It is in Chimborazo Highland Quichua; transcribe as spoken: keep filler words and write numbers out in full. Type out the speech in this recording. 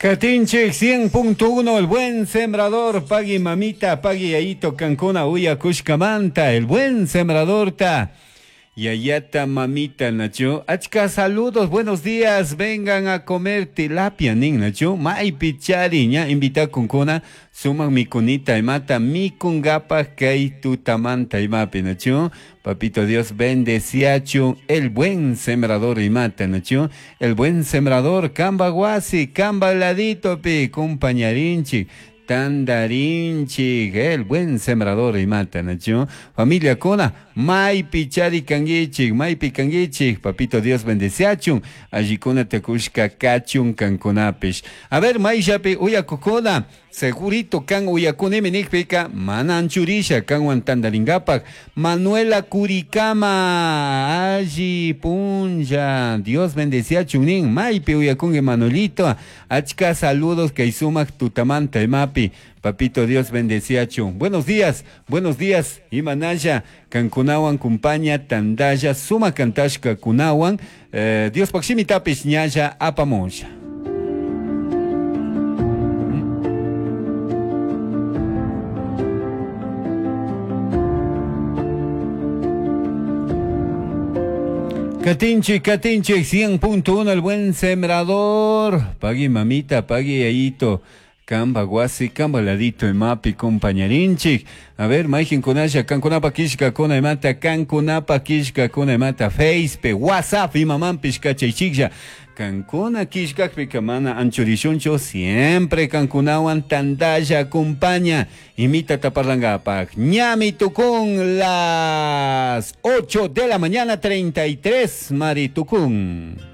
Katinchik cien punto uno, el buen sembrador, pagui mamita, pagui yayito, kankuna uya kushkamanta, el buen sembrador ta. Yayata mamita, Nacho. Achka saludos, buenos días, vengan a comer tilapia, nin, Nacho. Maipi chari, ña invita kunkuna, sumak mikunita imata, mikungapa kay tutamanta imapi, Nacho. Papito Dios bendeciachu, el buen sembrador imata, Nacho. El buen sembrador, kamba guasi, kamba ladito pi, compañarinchi. Tandarinchi, el buen sembrador imata, Nacho. Familia kona, maypi chari kanguichik, maypi kanguichik, papito Dios bendeciachun, allikuna tekushka kachun kankunapish. A ver, mayllapi uyakukuna, segurito kan uyakunimi nikpika, mana anchurisha kanwan tandaringapak. Manuela Curicama, alli punlla, Dios bendeciachun nin, maypi uyakungi Manuelito, achka saludos kay sumak tutamanta imapi. Papito Dios bendeciachun. Buenos días, buenos días. Imanaya, kankunawan kumpaña, tandaya, suma kantashka kunawan. Eh, Dios pakshimi tapish ñaya apamusha. Katinchi, Katinchi, cien punto uno, el buen sembrador. Pagui mamita, pagui yayito. Kamba guasi, kamba ladito imapi, compañarinchik. A ver, maijin kunasha, kankunapa kishka kuna imata, kankunapa kishka kuna imata, Facebook, WhatsApp, imamampish kachaychiklla. Kankuna kishkakpika mana anchurishunchu, siempre kankunawan tandalla acompaña. Imita taparlangapak. Ñami tukun las ocho de la mañana, treinta y tres, Mari tukun.